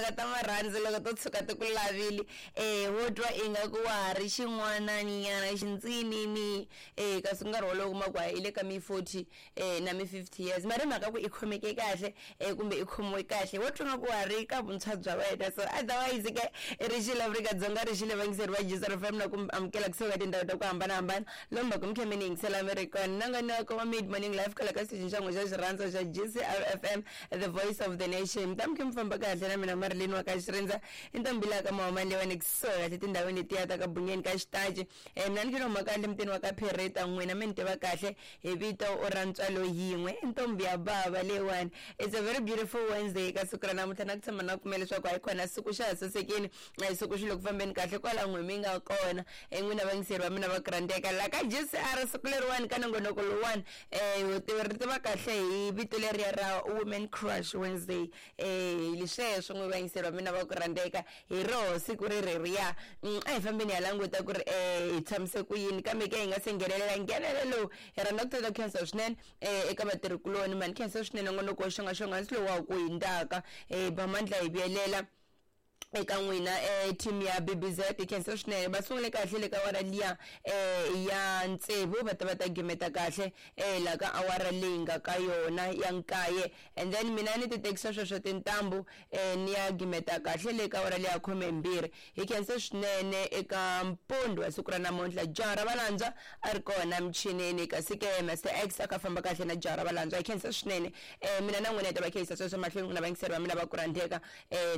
Timhaka ta marhandzu loko to tshuka ti ku lavile wo twa ingaku wa ha ri xin'wananyana xintsinini kasi nkarhi wolowo u kuma ku hayi i le ka mi 40 na mi 50 years mara hi mhaka ku i khomeke kahle kumbe i khomiwe kahle wo twa nga ku wa ha ri ka vuntshwa bya wena. So otherwise ke ri xile Afrika-Dzonga ri xile vayingiseri va Gcr FM na ku amukela kusuka ka tindhawu ta ku hambanahambana lomu va ku mi kha mi ni yingisela mi ri kona. Nongonoko wa Mid Morning Live kwala ka xitichini xa n'we xa xirhandza xa GCR FM, the voice of the nation. Mi ta mi kha mi famba kahle na mina Marilyn wa ka Xirindza i ntombi laha ka Mahomani leyiwani kusuhi kahle tindhawini letiya ta ka Bunyeni ka Xitachi. Mina ni khe ni huma kahle mutini wa ka Phereta n'wina mi ni tiva kahle hi vito ra ntswalo yin'we i ntombi ya bava leyiwani. It's a very beautiful Wednesday ka siku ra namuntlha na ku tshama na pfumela leswaku hayi khona siku xa ha sasekile siku xi le ku fambeni kahle kwala n'we mi nga kona n'wina vayingiseri va mina va ku rhandzeka la ka GCR siku leriwani ka nongonoko lowuwani ri tiva kahle hi vito leriya ra Women Crush Wednesday hi sweswo n'we vayingiseri va mina va ku rhandzeka hi roho siku ri reriya. A hi fambeni hi ya languta ku ri hi tshamise ku yini kambe ke hi nga se nghenelela nghenelelo lowu hi rhandza ku tata ku khensa swinene eka vatirhikuloni mani khensa swinene nongonoko wo xongaxonga hansi lowu wa ha ku hundzaka ba mandla hi vuyelela eka n'wina team ya BBZ hi khensa swinene va sungule kahle le ka awara liya ya tsevu va ta va ta gimeta kahle la ka awara leyi nga ka yona ya nkaye and then mina ni ti tekisa sweswo tintambu ni ya gimeta kahle le ka awara leya khumembirhi. Hi khensa swinene eka mpundzu wa siku ra namuntlha jaha ra valandzwa a ri kona michinini kasi ke Master X a kha famba kahle na jaha ra valandzwa. Hi khensa swinene mina na n'wina hi ta va khensisa sweswo mahlweni n'wina vayingiseri va mina va ku rhandzeka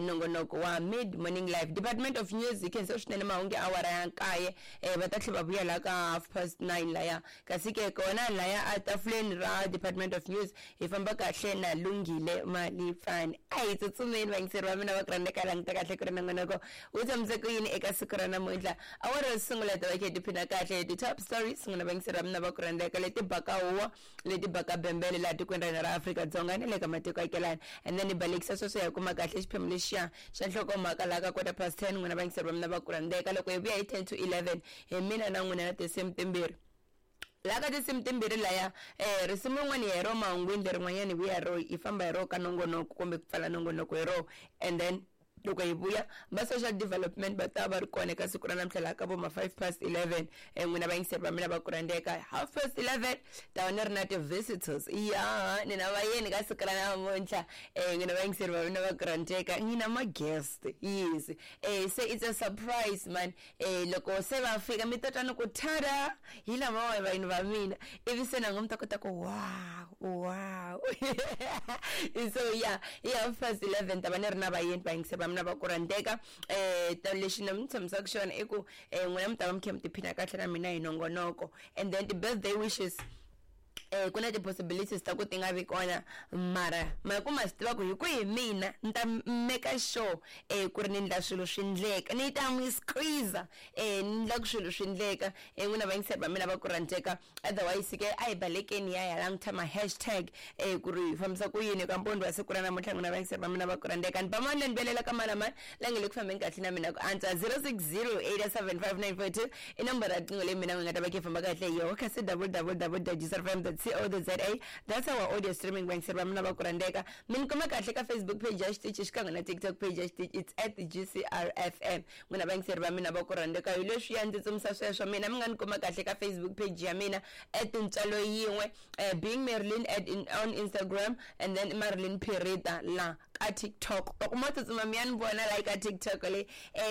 nongonoko wa Mid Morning Live. Department of News hi khensa swinene mahungu ya awara ya nkaye va ta tlhela va vuya laha ka 9:30 laya kasi ke kona laya a tafuleni ra Department of News hi famba kahle na Lunghile Malipfani. A hi tsutsumeni vayingiseri va mina va ku rhandzeka languta kahle ku ri nongonoko wu tshamise ku yini eka siku ra namuntlha. Awara yo sungula hi ta va kha hi tiphina kahle hi ti-top stories n'wina vayingiseri va mina va ku rhandzeka leti baka huwa leti baka bembele laha tikweni ra hina ra Afrika-Dzonga ni le ka matiko akelana and then hi balekisa sweswo hi ya kuma kahle xiphemu lexiya xa nhlokomhaka laha ka 10:15 n'wina vayingiseri va mina va ku rhandzeka loko hi vuya hi 10:50 hi mina na n'wina na tinsimu timbirhi laha ka tinsimu timbirhi laya risimu rin'wana hi ro mahungwini lerin'wanyana hi vuya hi ro hi famba hi ro ka nongonoko kumbe ku pfala nongonoko hi ro and then loko hi vuya va social development va ta va ri kona eka siku ra namuntlha laha ka vo ma 11:05 n'wina vayingiseri va mina va ku rhandzeka 11:30 ta va ni ri na ti-visitors ya ni na vayeni ka siku ra namuntlha n'wina vayingiseri va mina va ku rhandzeka ni na ma-guest yes se it's a surprise man loko se va fika mi ta twa ni ku tada hi lamawa vayeni va mina ivi se na n'we mi ta kota ku wow wow so yeah hi 11:30 ta va ni ri na vayeni vayingiseri va mina va ku rhandzeka lexi ni mi tshembisaka xona i ku n'wina mi ta va mi kha mi tiphina kahle na mina hi nongonoko and then ti-birthday wishes ku na ti-possibilities ta ku ti nga vi kona mara ma ku ma swi tiva ku hi ku hi mina ni ta make sure ku ri ni endla swilo swi ndleka ni ta n'wi squeeze ni endla ku swilo swi ndleka n'wina vayingiseri va mina va ku rhandzeka. Otherwise ke a hi balekeni ya ya languta ma-hashtag ku ri hi fambisa ku yini ka mpundzu wa siku ra namuntlha n'wina vayingiseri va mina va ku rhandzeka. Ni ba mani ni velela ka mani na mani la nge le ku fambeni kahle na mina ku antswa 0608755942 i nomboro ya riqingho leyi mina n'wi nga ta va kha hi famba kahle hi yoho kasi www.gcrfm.co.za that's our audio streaming vayingiseri va mina va ku rhandzeka. Mi ni kuma kahle ka Facebook page ya xitichi xikan'we na TikTok page ya xitichi it's at GCRFM n'wina vayingiseri va mina va ku rhandzeka hi leswiya ndzi tsumisa sweswo mina mi nga ni kuma kahle ka Facebook page ya mina at ntswalo yin'we being Marilyn at on Instagram and then Marilyn Pirita la ka TikTok loko mo tsutsuma mi ya ni vona la ka TikTok le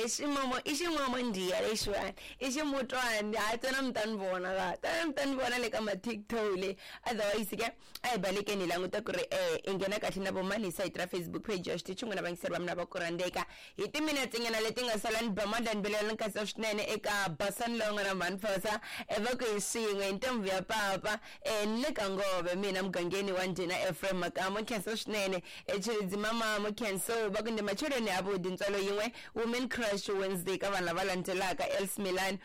ximomo i ximomo ndiya lexiwani i ximutwani hayi tsena mi ta ni vona la tsena mi ta ni vona le ka ma TikTok le. Otherwise ke a hi balekeni hi languta ku ri i nghena kahle na vomani hi sayiti ra Facebook page ya xitichi n'wina vayingiseri va mina va ku rhandzeka hi timinetse nyana leti nga sala ni ba mandla ni belela ni khatsa swinene eka basani lowu nga na mhani Phosa va ku hi swin'we hi ntombi ya papa ni le ka ngove mina mugangeni wa ndhina Ephraim Makamo khensa swinene Tshilidzi mama khenso va ku ndi macheleni avuḓi ntswalo yin'we Women Crush Wednesday ka vanhu lava landzelaka Els Milan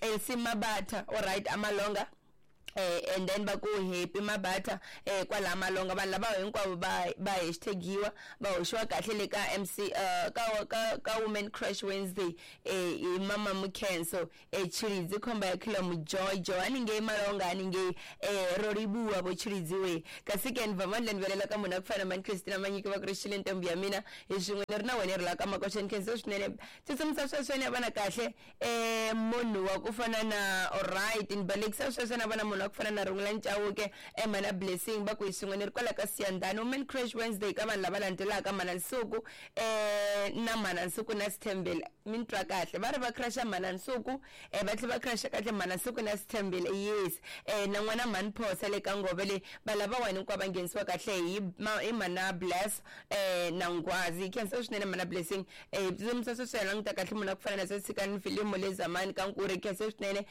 Elsie Mabata alright Amalonga And then va ku Happy Mabata kwala Malonga. Vanhu lava hinkwavo va hashtagiwa, va hoxiwa kahle le ka MC ka Women Crush Wednesday hi Mama Mukhenso Tshilidzi khomba ya khilo mujojo haningei Malonga haningei ro livhuwa vo Tshilidzi we. Kasi ke ni va mandla ni velela ka munhu a ku fana na mani Christina Manyiki va ku ri xile ntombi ya mina hi swin'we ni ri na wena ri la ka makoxa. Ni khensa swinene tsutsumisa sweswo ni vona kahle munhu wa ku fana na alright ni balekisa sweswo na vona munhu wa ku fana na Rungula Chauke mana Blessing va ku hi swin'we ni ri kwala ka Siyandhani. Women Crush Wednesday ka vanhu lava landzelaka mana Nsuku na mana Nsuku na Sithembele, mi ni twa kahle va ri va crusha mana Nsuku va tlhela va crusha kahle mana Nsuku na Sithembele, yes, na n'wana mhani Phosa le ka Ngove le. Va lava wani hinkwavo va nghenisiwa kahle hi mana Bless na Nghwazi. Khensa swinene mana Blessing tsutsumisa sweswo hi languta kahle munhu a ku fana na Sasikani Filimu le Zamani ka Nkuri. Khensa swinene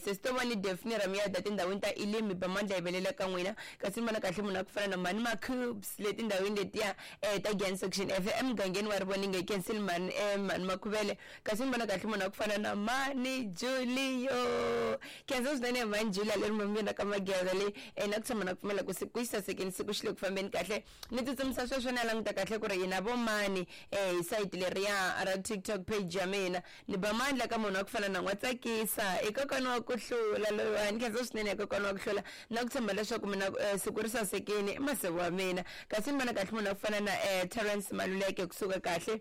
sesitovani Daphne Ramiyada tindhawini ta Elimi Bamandla hi velela ka n'wina. Kasi ni vona kahle munhu a ku fana na mhani Makhubs le tindhawini letiya ta Giyani Section F emugangeni wa Rivoninge. Kensile mhani mhani Makhuvele. Kasi ni vona kahle munhu a ku fana na mhani Julio. Khensa swinene mhani Julia leri mamina ka Mageza le na ku tshama na ku pfumela ku siku yi sasekeni, siku xi le ku fambeni kahle. Ni tsutsumisa sweswo ni ya languta kahle ku ri hina vo mani hi sayiti leriya ra TikTok page ya mina. Ni ba mandla ka munhu wa ku fana na n'wa tsakisa i kokwana wa ku hlula loyiwani. Khensa swinene kokwana wa ku hlula na ku tshemba leswaku mina siku ri sasekini i masiku wa mina. Kasi ni vona kahle munhu wa ku fana na Terence Maluleke kusuka kahle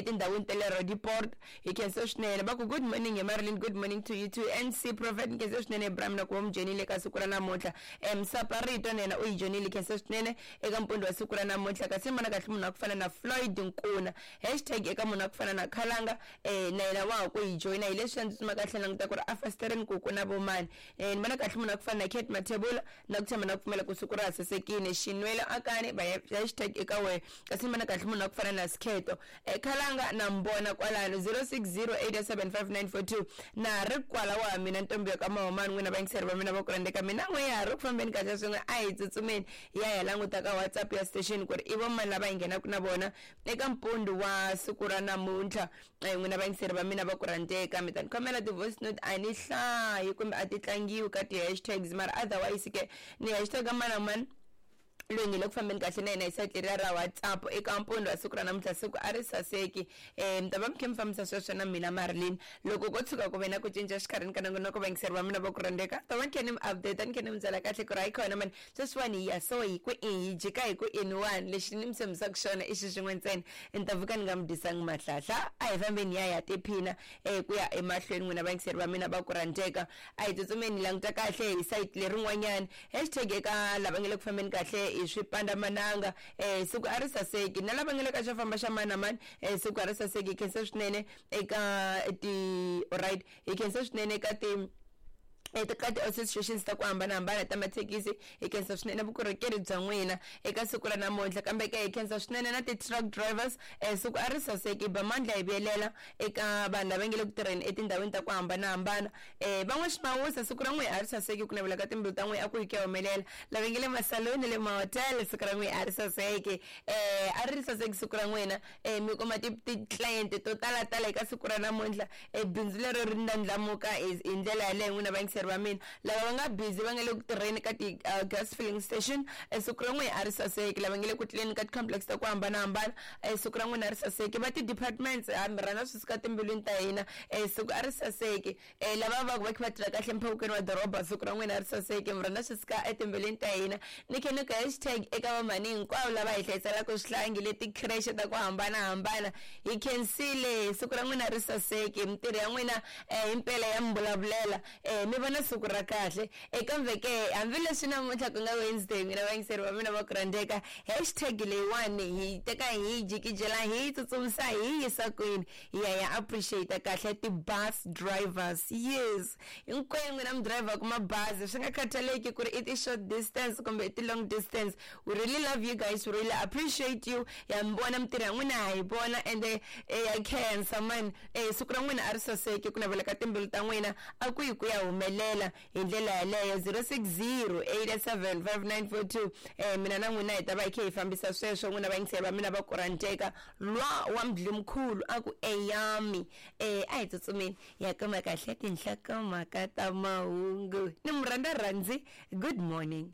tindhawini ta le Roodepoort. Hi khensa swinene va ku good morning hi Marilyn, good morning to you too. NC Prophet, ni khensa swinene Ibrahim na ku va mu joyinile ka siku ra namuntlha. Msaparito na yena u yi joyinile, khensa swinene eka mpundzu wa siku ra namuntlha. Kasi ni vona kahle munhu wa ku fana na Floyd Nkuna, hashtag eka munhu wa ku fana na Khalanga na yena wa ha ku yi joyina. Hi leswi ndzi tsuma kahle languta ku ri a fasitereni ku ku na vomani. Ni vona kahle munhu wa ku fana na Kate Mathebula na ku tshama na ku pfumela ku siku ra ha sasekile. Xinwelo akani va hashtag eka wena. Kasi ni vona kahle munhu wa ku fana na Sikheto Khalanga na mbona kwalano 0608755942 na ri kwala wa mina ntombi ya ka Mahomani. N'wina vayingiseri va mina va ku rhandzeka mina n'we ya ha ri ku fambeni kahle swin'we, a hi tsutsumeni hi ya hi languta ka WhatsApp ya station ku ri i vo mani lava hi nghenaka na vona eka mpundzu wa siku ra namuntlha. N'wina vayingiseri va mina va ku rhandzeka, mi ta ni khomela ti-voice note a ni hlayi kumbe a ti tlangiwi ka ti-hashtags, mara otherwise ke ni hashtag mani na mani loyi nge le ku fambeni kahle na yena hi sayiti leriya ra WhatsApp eka mpundzu wa siku ra namuntlha. Siku a ri saseki mi ta va mi kha mi fambisa sweswo na mina Marilyn. Loko ko tshuka ku ve na ku cinca xikarhini ka nongonoko, vayingiseri va mina va ku rhandzeka, ta va ni kha ni mi update, ni kha ni mi byela kahle ku ri hayi khona mani sweswiwani hi ya so hi ku i hi jika hi ku ini wani. Lexi ni mi tshembisaka xona i xi xin'we ntsena, ni ta pfuka ni nga mi dyisangi mahlahla. A hi fambeni hi ya ya tiphina ku ya emahlweni. N'wina vayingiseri va mina va ku rhandzeka, a hi tsutsumeni hi languta kahle hi sayiti lerin'wanyana. Hashtag eka lava nga le ku fambeni kahle hi swipandamananga, siku a ri saseki, na lava nga le ka xo famba xa mani na mani, siku a ri saseki. Hi khensa swinene eka ti alright, hi khensa swinene eka ti eka ti-associations ta ku hambanahambana ta mathekisi. Hi khensa swinene vukorhokeri bya n'wina eka siku ra namuntlha. Kambe ke hi khensa swinene na ti-truck drivers, siku a ri saseki. Ba mandla hi vuyelela eka vanhu lava nge le ku tirheni etindhawini ta ku hambanahambana. Van'we ximawusa, siku ra n'wina a ri saseki, ku navela ka timbilu ta n'wina a ku yi ku ya humelela. Lava nge le masaloni le mahotel, siku ra n'wina a ri saseki, a ri saseki siku ra n'wina. Mi kuma ti-client to talatala eka siku ra namuntlha, bindzu lero ri ndlandlamuka hi ndlela yaleyo. N'wina vayingiseri va mina lava va nga busy, va nga le ku tirheni ka ti-gas filling station, siku ra n'wina a ri saseki. Lava nga le ku tlileni ka ti-complex ta ku hambanahambana, siku ra n'wina a ri saseki. Va ti-departments, ha mi rhandza swi suka timbilwini ta hina, siku a ri saseki. Lava va ku va kha va tirha kahle emphawukweni wa doroba, siku ra n'wina a ri saseki, mi rhandza swi suka etimbilwini ta hina. Ni khe ni ku hashtag eka vamhani hinkwavo lava hi hlayiselaka swihlangi le ti-creche ta ku hambanahambana, hi khensile, siku ra n'wina ri saseki. Mintirho ya n'wina himpela ya mi vulavulela, mi vona siku ra kahle. Kambe ke hambileswi namuntlha ku nga Wednesday, n'wina vayingiseri va mina va ku rhandzeka, hashtag leyiwani hi teka hi yi jikijela, hi yi tsutsumisa, hi yi yisa kwini? Hi ya ya appreciate kahle ti-bus drivers. Yes, hinkwenu n'wina mi dirayivhaka mabazi, swi nga khathaleki ku ri i ti-short distance kumbe i ti-long distance, we really love you guys, we really appreciate you. Ya mi vona mintirho ya n'wina, ha yi vona, ende ya khensa man. Siku ra n'wina a ri saseki, ku navela ka timbilu ta n'wina a ku yi ku ya humelela. humelela hi ndlela yaleyo. 060 87 5942. Mina na n'wina hi ta va hi kha hi fambisa sweswo. N'wina vayingiseri va mina va kuranteka lwa wa mdlimkhulu a ku eyami. A hi tsutsumeni ya kuma kahle tinhlokomhaka ta mahungu ni murhandza rhandzi. Good morning.